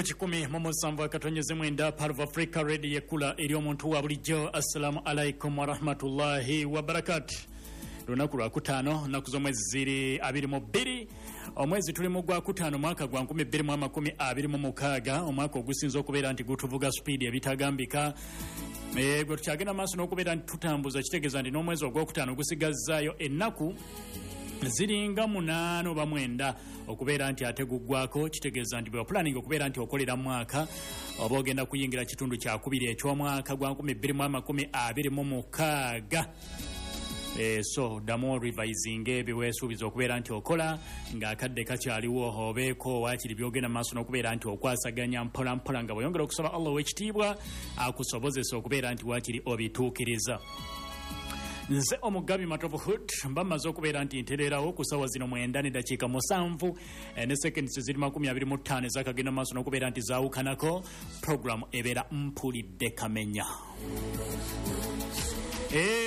Ku 107.9 Part of Africa Radio, ekula eri omuntu wa bulijjo. Assalamu alaikum warahmatullahi wabarakatu. Lunaku lwakutaano, nnaku z'omwezi ziri 22, omwezi tuli mu gwakutaano, mwaka gwa 2026, omwaka ogusinza okubeera nti gutuvuga sipiidi ebitagambika. Gwe tukyagenda maaso n'okubeera nti tutambuza, kitegeeza nti n'omwezi ogwokutaano gusigazzaayo ennaku ziringa 8 oba 9 okubeera nti ate guggwako. Kitegeeza nti bwepulaninga okubeera nti okolera mwaka oba ogenda kuyingira kitundu kyakubiri eky'omwaka gwa 2026. So ddamu revisinga ebyo weesuubiza okubeera nti okola ng'akadde kakyaliwo, obeeko waakiri byogenda maaso n'okubeera nti okwasaganya mpola mpola nga bweyongera okusaba Allah ow'ekitiibwa akusobozesa okubeera nti waakiri obituukiriza. Nze Omugabi Matovu Hood mba mmaze okubeera nti ntereerawo ku ssaawa zino 9:07 ne seconds ziri 25 ezakagenda maaso n'okubeera nti zaawukanako. Program ebeera Mpulidde Kamenya.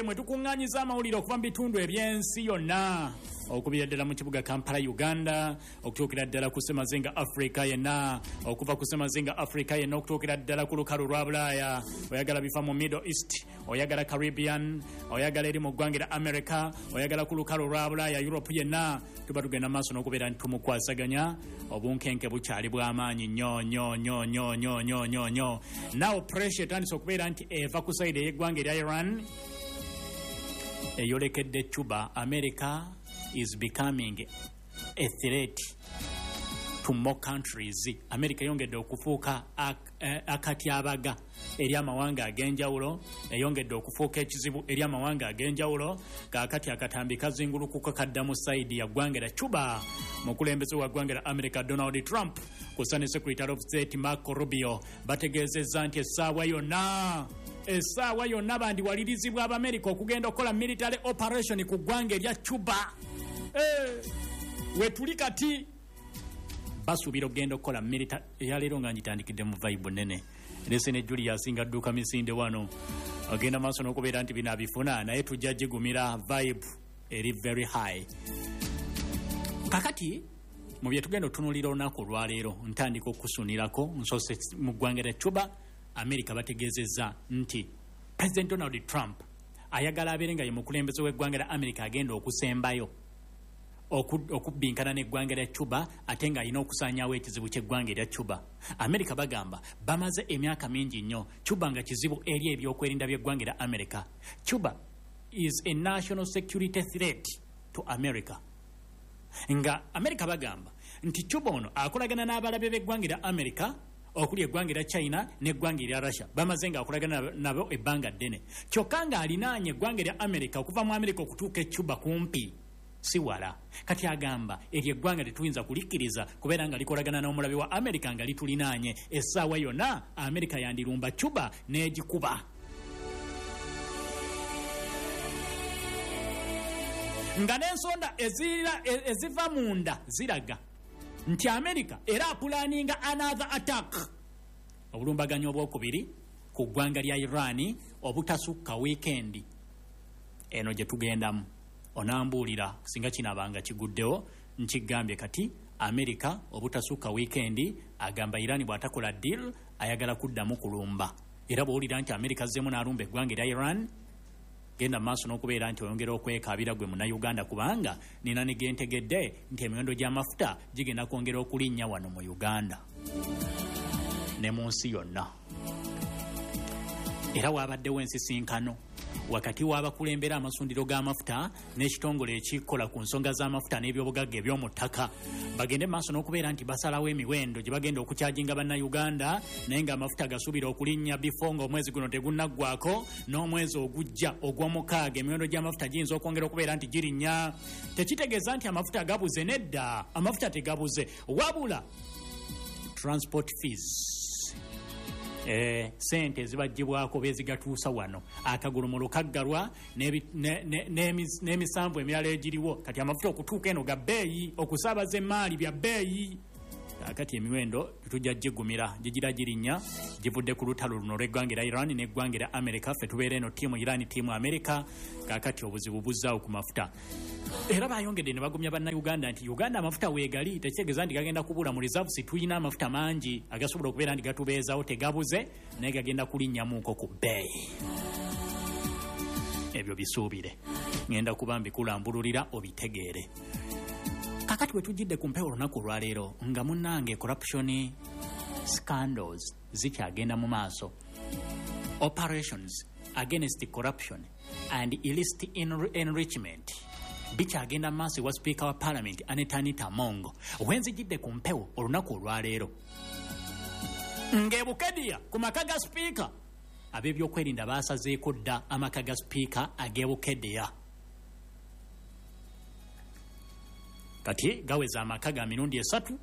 Mwe tukuŋŋaanyiza amawulire okuva mu bitundu eby'ensi yonna, okubira ddala mu kibuga Kampala, Uganda, okutuukira ddala ku ssemazinga Africa yenna, okuva ku ssemazinga Africa yenna okutuukira ddala ku lukalu lwa Bulaaya. Oyagala bifa mu Middle East, oyagala Caribbean, oyagala eri mu ggwanga erya America, oyagala ku lukalu lwa Bulaaya, Europe yenna, tuba tugenda maaso n'okubeera nti tumukwasaganya. Obunkenke bukyali bw'amaanyi nnyo nnyo nnyo nnyo nnyo nnyo nnyo nnyo. Now pressure etandise okubeera nti eva ku side ey'eggwanga erya Iran eyolekedde Cuba. America is becoming a threat to more countries. America eyongedde okufuuka akatyabaga eri amawanga ag'enjawulo, eyongedde okufuuka ekizibu eri amawanga ag'enjawulo. Kaakati akatambi kazingulukuka kadda mu side ya ggwanga lya Cuba. Mukulembeze wa ggwanga lya America Donald Trump kusa ne Secretary of State Marco Rubio bategeezezza nti essaawa yonna bandiwalirizibwa Abamerika okugenda okukola military operation ku ggwanga erya Cuba. Wetuli kati basuubira okugenda okukola military. Eyaleero nga ngitandikidde mu vibe nene, lese ne Julius nga adduka misinde wano, agenda maaso n'okubeera nti bino abifuna, naye tujja gigumira, vibe eri very high. Kakati mu bye tugenda otunuulira olunaku olwaleero, ntandika okusunirako nsoose mu ggwanga lya Cuba. America bategeezezza nti President Donald Trump ayagala abeere nga ye mukulembeze w'eggwanga lya America agenda okusembayo okubbinkana n'eggwanga lya Cuba, ate ng'alina okusaanyaawo ekizibu ky'eggwanga erya Cuba. America bagamba bamaze emyaka mingi nnyo Cuba nga kizibu eri ebyokwerinda by'eggwanga erya America. Cuba is a national security threat to America. Nga America bagamba nti Cuba ono akolagana n'abalabe b'eggwanga erya America okuli eggwanga erya China n'eggwanga erya Russia, bamaze ng'akolagana nabo ebbanga ddene, kyokka ng'alinaanye eggwanga erya America okuva mu America okutuuka e Cuba kumpi si wala. Kati agamba eryo eggwanga tetuyinza kulikkiriza kubeera nga likolagana n'omulabe wa America nga litulinaanye. Essaawa yonna America yandirumba Cuba n'egikuba. Nga n'ensonda eziva munda ziraga nti America era apulaninga another attack, obulumbaganyi obwokubiri ku ggwanga lya Iran obutasukka wiikendi eno gye tugendamu. Onambuulira singa kinaabanga kiguddewo. Nkigambye kati America obutasukka wiikendi agamba Iran bw'atakola deal ayagala kuddamu kulumba. Era bw'owulira nti America azzeemu n'alumba eggwanga erya Iran, genda maaso n'okubeera nti oyongera okwekaabira gwe Munnayuganda, kubanga nina ne gentegedde nti emiwendo gy'amafuta gigenda kwongera okulinnya wano mu Uganda ne mu nsi yonna. Era waabaddewo ensisinkano wakati w'abakulembera amasundiro g'amafuta n'ekitongole ekikola ku nsonga z'amafuta n'ebyobugagga eby'omu ttaka, bagende maaso n'okubeera nti basalawo emiwendo gye bagenda okukyajinga Bannayuganda, naye ng'amafuta gasuubira okulinnya bifo ng'omwezi guno tegunnaggwako n'omwezi ogujja ogw'omukaaga emiwendo gy'amafuta giyinza okwongera okubeera nti girinnya. Tekitegeeza nti amafuta gabuze, nedda, amafuta tegabuze, wabula transport fees, sente ezibagibwako bezigatuusa wano, akagulumulu kaggalwa n'emisanvu emirala egiriwo. Kati amafuta okutuuka eno ga bbeeyi, okusaabaza emaali bya bbeeyi. Kakati emiwendo tujja gigumira, gigira girinnya, givudde ku lutalo luno olw'eggwanga erya Iran n'eggwanga erya America. Ffe tubeera eno ttiimu Iran, ttiimu America. Kakati obuzibu buzzaawo ku mafuta. Era bayongedde ne bagumya Bannayuganda nti Uganda amafuta weegali, tekitegeeza nti gagenda kubula mu reserves. Tulina amafuta mangi agasobola okubeera nti gatubeezaawo, tegabuze, naye gagenda kulinnyamuuko ku bbeeyi. Ebyo bisuubire, ŋŋenda kuba mbikulambululira obitegeere. Kakati we tujjidde ku mpewo olunaku olwaleero nga munnange corruption scandals zikyagenda mu maaso. Operations against corruption and illicit enrichment bikyagenda mu maaso ewa sipiika wa Parliament Anita Anita Among. Wenzijidde ku mpewo olunaku olwaleero ng'eBukedia ku maka ga sipiika, ab'ebyokwerinda baasazeeko dda amaka ga sipiika ag'eBukedia. Kati gaweza amaka ga mirundi 3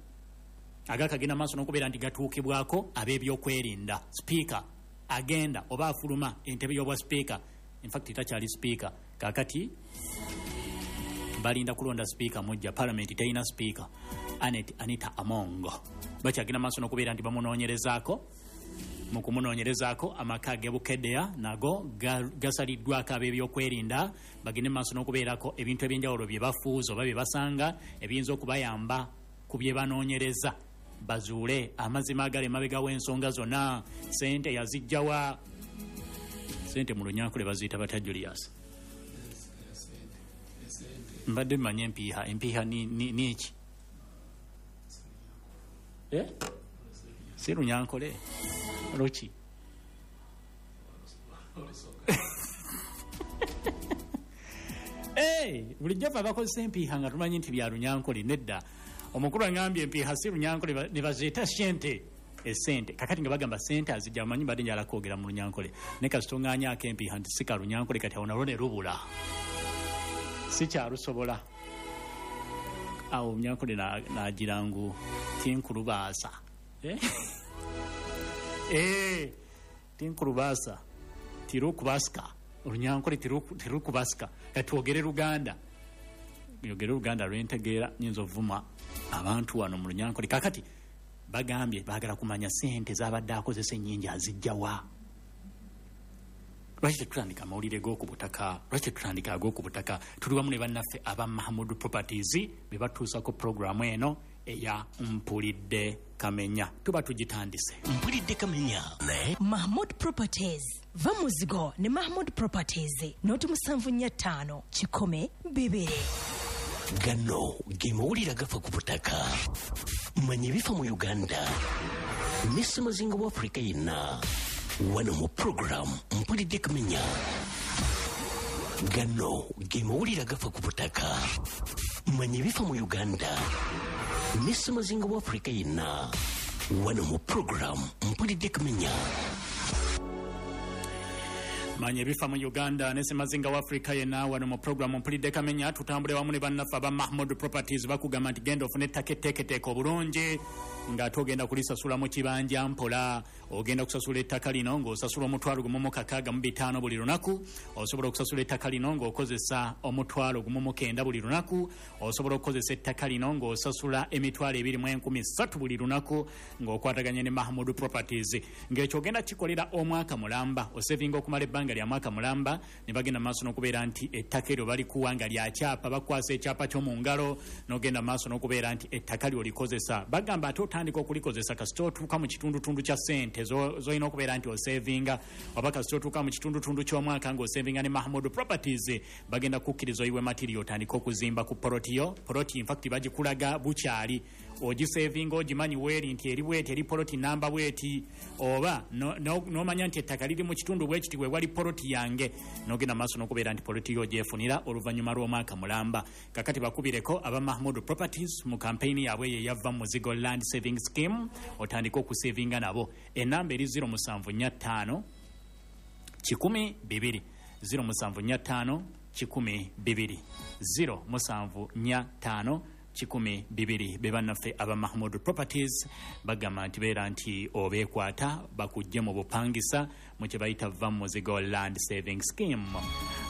agakagenda maaso n'okubeera nti gatuukibwako ab'ebyokwerinda. Sipiika agenda oba afuluma entebe y'obwa sipiika, infact takyali sipiika, kakati balinda kulonda sipiika mujja. Palamenti terina sipiika. Anet Anita Among bakyagenda maaso n'okubeera nti bamunoonyerezaako. Mu kumunoonyerezaako, amaka ag'eBukedea nago gasaliddwako ab'ebyokwerinda, bagende maaso n'okubeerako ebintu ebyenjawulo bye bafuuza oba bye basanga ebiyinza okubayamba ku bye banoonyereza, bazuule amazima agali emabega w'ensonga zonna. Sente yazijjawa? Sente mu Lunyankole baziyita batya, Julius? Mbadde mmanye empiiha. Empiiha ni ki? Eh? Si Lunyankole, luki? Bulijjo fe abakozesa empiiha nga tumanyi nti bya Lunyankole. Nedda, omukulu aŋambye empiiha si Lunyankole, ne bazeeta sente, esente. Kakati nga bagamba sente azijja, amanyi mbadde njala kwogera mu Lunyankole, naye kasita oŋŋanyaako empiiha nti si ka Lunyankole, kati awo nalwo ne lubula, sikyalusobola. Awo Lunyankole nagira ngu tinkulubaasa. Tinkulubaasa, tirukubasika. Olunyankole tirukubasika. Kati twogere Luganda, yogere Luganda lwentegeera, nyinza ovuma abantu wano mu Lunyankole. Kakati bagambye baagala kumanya sente zabadde akozesa ennyingi azijjawa. Lwaki tetutandika amawulire g'oku butaka? Lwaki tetutandika ag'oku butaka? Tuli wamu ne bannaffe aba Mahmud Properties be batuusako puroguramu eno eya Mpulidde Kamenya. Tuba tugitandise. Mpulidde Kamenya ne Mahmud Properties. Va muzigo ne Mahmud Properties, noti 745 102. Gano ge mawulire agafa ku butaka. Manya ebifa mu Uganda ne ssemazinga wa Afurika yenna wano mu puroguramu Mpulidde Kamenya. Gano ge mawulire agafa ku butaka. Manya ebifa mu Uganda ne ssemazinga wa Afurika yenna wano mu puroguramu Mpulidde Kamenya. Manya ebifa mu Uganda ne ssemazinga wa Afrika yenna wano mu puroguramu Mpulidde Kamenya. Tutambule wamu ne bannaffe aba Mahmud Properties. Bakugamba nti genda ofune ettaka etteeketeeke obulungi ng'ate ogenda kulisasula mu kibanja mpola. Ogenda kusasula ettaka lino ng'osasula 1,650 buli lunaku. Osobola okusasula ettaka lino ng'okozesa 1,900 buli lunaku. Osobola okukozesa ettaka lino ng'osasula 23,300 buli lunaku ng'okwataganye ne Mahmud Properties. Ng'ekyo ogenda kikolera omwaka mulamba, osevinga okumala ebbanga lya mwaka mulamba, ne bagenda maaso n'okubeera nti ettaka eryo balikuwa nga lya kyapa, bakwasa ekyapa ky'omu ngalo, n'ogenda maaso n'okubeera nti ettaka lyo olikozesa. Bagamba ate otandika okulikozesa kasita otuuka mu kitundutundu kya ssente z'olina okubeera nti osevinga, oba kasita otuuka mu kitundutundu ky'omwaka ng'osevinga ne Mahmud Properties, bagenda kukkiriza oyiwe matiriyo otandike okuzimba ku poloti yo. Poloti infact bagikulaga bukyali, ogisevinga ogimanyi weeri nti eri bweti, eri poloti namba bweti, oba n'omanya nti ettaka liri mu kitundu bwekiti we wali poloti yange, n'ogenda maaso n'okubeera nti poloti yo ogyefunira oluvannyuma lw'omwaka mulamba. Kakati bakubireko aba Mahmud Properties mu kampeyini yaabwe eyo eyava Muzigo Land Saving Scheme, otandike okusevinga nabo. Enamba eri 0745 102 0745 102 0745 102. Be bannaffe aba Mahmud Properties bagamba nti beera nti obeekwata bakujje mu bupangisa mu kye bayita Va Muzigo Land Saving Scheme.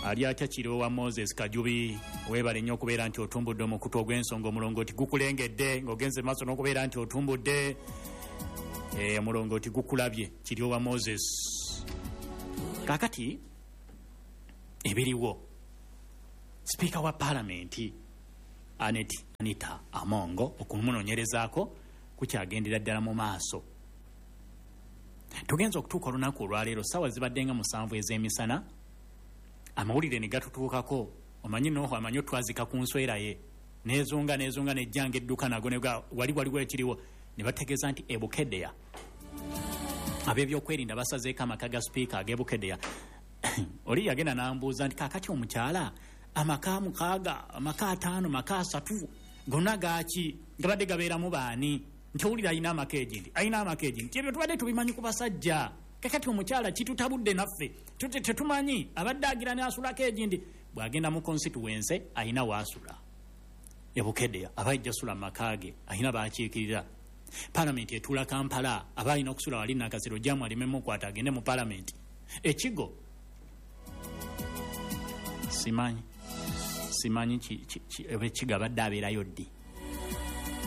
Ali atya Kirowa Moses Kajubi, weebale nnyo okubeera nti otumbudde omukutu ogw'ensonga. Omulongooti gukulengedde ng'ogenze maaso n'okubeera nti otumbudde omulongooti gukulabye, Kiryowa Moses. Kaakati ebiriwo, sipiika wa paalamenti Anet Anita Amongo okumunoonyerezaako kukyagendera ddala mu maaso. Tugenza okutuuka olunaku olwaleero, ssaawa zibadde nga 7 ez'emisana, amawulire ne gatutuukako. Omanyi Noho amanyi otwazika ku nswera ye, nezunga nezunga nejjanga edduka nago wali waliwo ekiriwo, ne bategeeza nti e Bukedea ab'ebyokwerinda basazeeko amaka ga sipiika ag'e Bukedea. Oli yagenda n'ambuuza nti kaakati omukyala amaka 6, amaka 5, maka 3 gonna gaaki, gabadde gabeeramu baani? Nti owulira alina amaka egindi, alina amaka egindi. Ebyo tubadde tubimanyi ku basajja, kakati omukyala kitutabudde naffe tetumanyi, abadde agira n'asulako egindi. Bw'agenda mu constituency alina waasula e Bukedea, aba ajja sula mu maka ge, alina baakiikirira. Paalamenti etuula Kampala, aba alina okusula wali Nakasero, jamu aleme mukwata agende mu paalamenti. Ekigo simanyi ekigo abadde abeerayo ddi.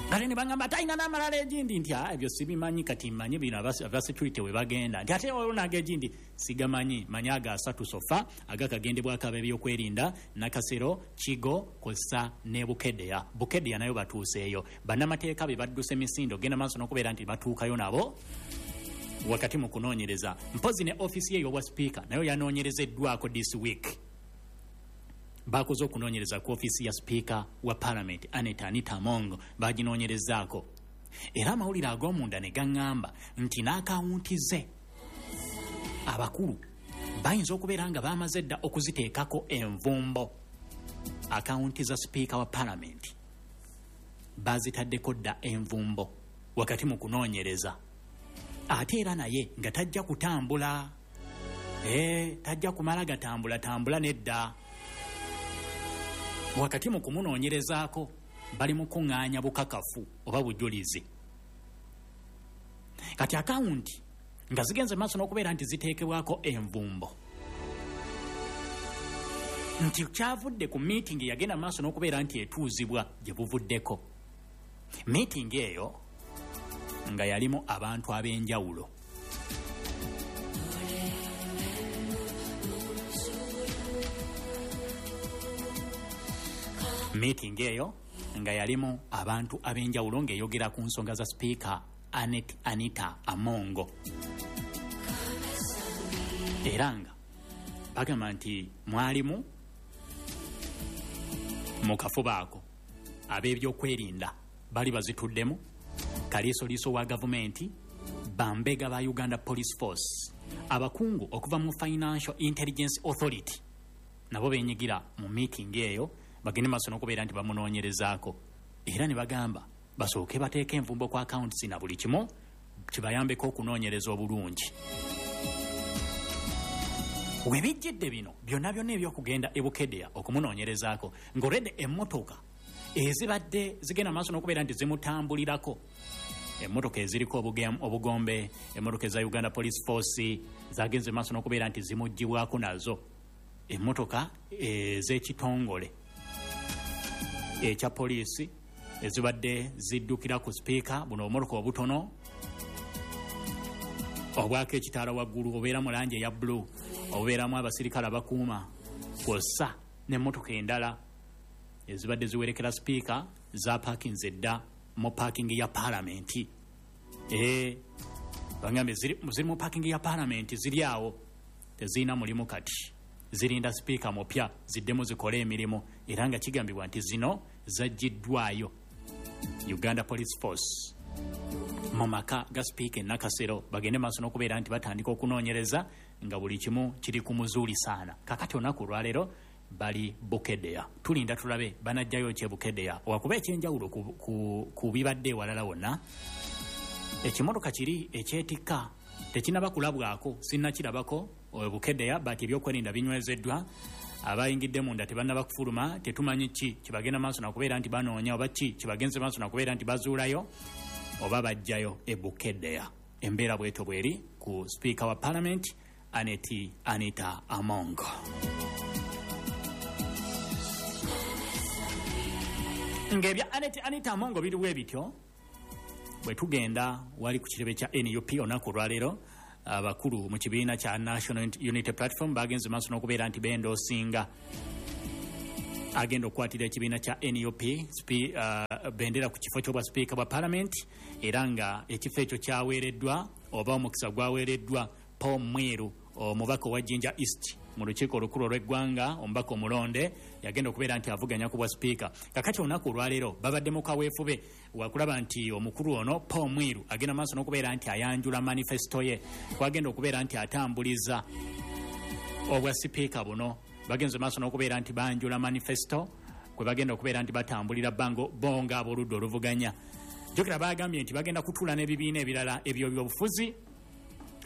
Kale ne bagamba ate alina n'amalala egindi, nti ebyo sibimanyi, kati mmanyi bino aba security we bagenda, nti ate waliwo n'ag'egindi sigamanyi, manyi aga 3 sofa agakagendebwako ab'ebyokwerinda Nakasero, Kigo kw'ossa ne Bukedea. Bukedea nayo batuuseeyo, bannamateeka be badduse misindo genda maaso n'okubeera nti batuukayo nabo wakati mu kunoonyereza. Mpozi ne ofiisi ye ey'obwa sipiika nayo yanoonyerezeddwako this week. Bakoze okunoonyereza ku ofiisi ya sipiika wa paalamenti Anet Anita Amongo, baginoonyerezaako. Era amawulire ag'omunda ne gaŋŋamba nti n'akawunti ze abakulu bayinza okubeera nga bamaze dda okuziteekako envumbo. Akawunti za sipiika wa paalamenti bazitaddeko dda envumbo wakati mu kunoonyereza. Ate era naye nga tajja kutambula, tajja kumala gatambula tambula nedda. Wakati mu kumunoonyerezaako bali mu kuŋŋaanya bukakafu oba bujulizi. Kati akawunti nga zigenze maaso n'okubeera nti ziteekebwako envumbo, nti kyavudde ku meeting yagenda maaso n'okubeera nti etuuzibwa gye buvuddeko. Meeting eyo nga yalimu abantu ab'enjawulo. Meeting eyo nga yalimu abantu ab'enjawulo ng'eyogera ku nsonga za sipiika Anet Anita Amongo. Era nga bagamba nti mwalimu mu kafuba ako ab'ebyokwerinda bali bazituddemu, kaliisoliiso wa gavumenti, bambega ba Uganda Police Force, abakungu okuva mu Financial Intelligence Authority nabo beenyigira mu meeting eyo, bagende maaso n'okubeera nti bamunoonyerezaako. Era ne bagamba basooke bateeke envumbo ku accounts na buli kimu kibayambeko okunoonyereza obulungi. We bijjidde bino byonna byonna eby'okugenda e Bukedea okumunoonyerezaako, ng'olwedde emmotoka ezibadde zigenda maaso n'okubeera nti zimutambulirako, emmotoka eziriko obugombe, emmotoka eza Uganda Police Force zagenze maaso n'okubeera nti zimuggyibwako nazo, emmotoka ez'ekitongole ekya poliisi ezibadde ziddukira ku sipiika, buno obumotoka obutono obwako ekitaala waggulu obeera mu langi eya bbulu, obubeeramu abasirikale abakuuma, kw'ossa n'emmotoka endala ezibadde ziwerekera sipiika zapaakinze dda mu paakingi ya paalamenti. Bagambye ziri mu paakingi ya paalamenti, ziri awo tezirina mulimu kati, zirinda sipiika mupya ziddemu zikole emirimu. Era nga kigambibwa nti zino zaggiddwayo Uganda Police Force mu maka ga sipiika e Nakasero, bagende maaso n'okubeera nti batandika okunoonyereza nga buli kimu kiri ku muzuulisaana. Kakati olunaku olwaleero bali Bukedea, tulinda tulabe banajjayo ki e Bukedea, wakuba ekyenjawulo ku bibadde ewalala wonna. Ekimotoka kiri ekyetikka tekinnaba kulabwako, sinnakirabako Bukedea, but ebyokwerinda binywezeddwa, abayingidde munda tebannaba kufuluma, tetumanyi ki kibagenda maaso nakubeera nti banoonya oba ki kibagenze maaso nakubeera nti bazuulayo oba bajjayo e Bukedea. Embeera bwetyo bweri ku sipiika wa paalamenti Anet Anita Amongo. Ng'ebya Annet Anita Amongo biriwo ebityo, bwe tugenda wali ku kitebe kya NUP olunaku olwaleero, abakulu mu kibiina kya National Unity Platform bagenze maaso n'okubeera nti bendoosinga agenda okukwatira ekibiina kya NUP bendera ku kifo ky'obwa sipiika bwa palamenti, era nga ekifo ekyo kyaweereddwa oba omukisa gwaweereddwa Paul Mwiru, omubaka owa Jinja East mu lukiiko olukulu olw'eggwanga, omubaka omulonde yagenda okubeera nti avuganya ku bwa sipiika. Kakati olunaku olwaleero babadde mu kaweefube wakulaba nti omukulu ono Paul Mwiru agenda maaso n'okubeera nti ayanjula manifesto ye kwagenda okubeera nti atambuliza obwa sipiika buno. Bagenze maaso n'okubeera nti banjula manifesto kwe bagenda okubeera nti batambulira bango bo nga ab'oludda oluvuganya. Jjukira bagambye nti bagenda kutuula n'ebibiina ebirala eby'ebyobufuzi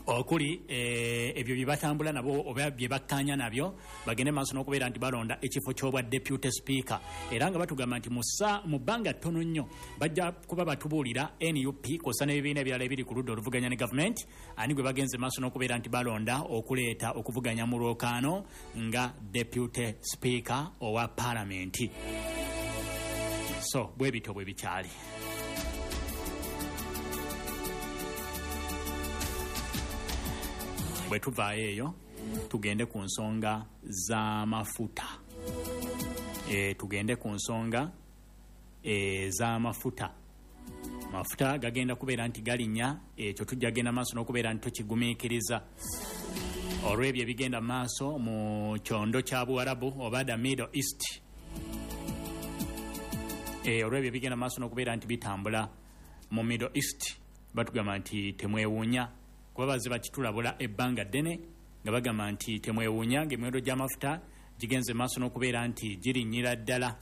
okuli ebyo bye batambula nabo oba bye bakkaanya nabyo, bagende maaso n'okubeera nti balonda ekifo ky'obwa deputy speaker, era nga batugamba nti mu bbanga ttono nnyo bajja kuba batubuulira NUP kw'ossa n'ebibiina ebirala ebiri ku ludda oluvuganya ne gavumenti ani gwe bagenze maaso n'okubeera nti balonda okuleeta okuvuganya mu lwokaano nga deputy speaker owa palamenti. So bwe bityo bwe bikyali. Bwe tuvaayo eyo tugende ku nsonga z'amafuta. Tugende ku nsonga ez'amafuta. Mafuta gagenda kubeera nti galinnya, ekyo tujja genda maaso n'okubeera nti tukigumiikiriza olw'ebyo ebigenda maaso mu kyondo kya Buwarabu oba the Middle East. Olw'ebyo ebigenda maaso n'okubeera nti bitambula mu Middle East, batugamba nti temwewuunya kuba bazze bakitulabula ebbanga ddene nga bagamba nti temwewuunya ng'emiwendo gy'amafuta gigenze maaso n'okubeera nti girinnyira ddala.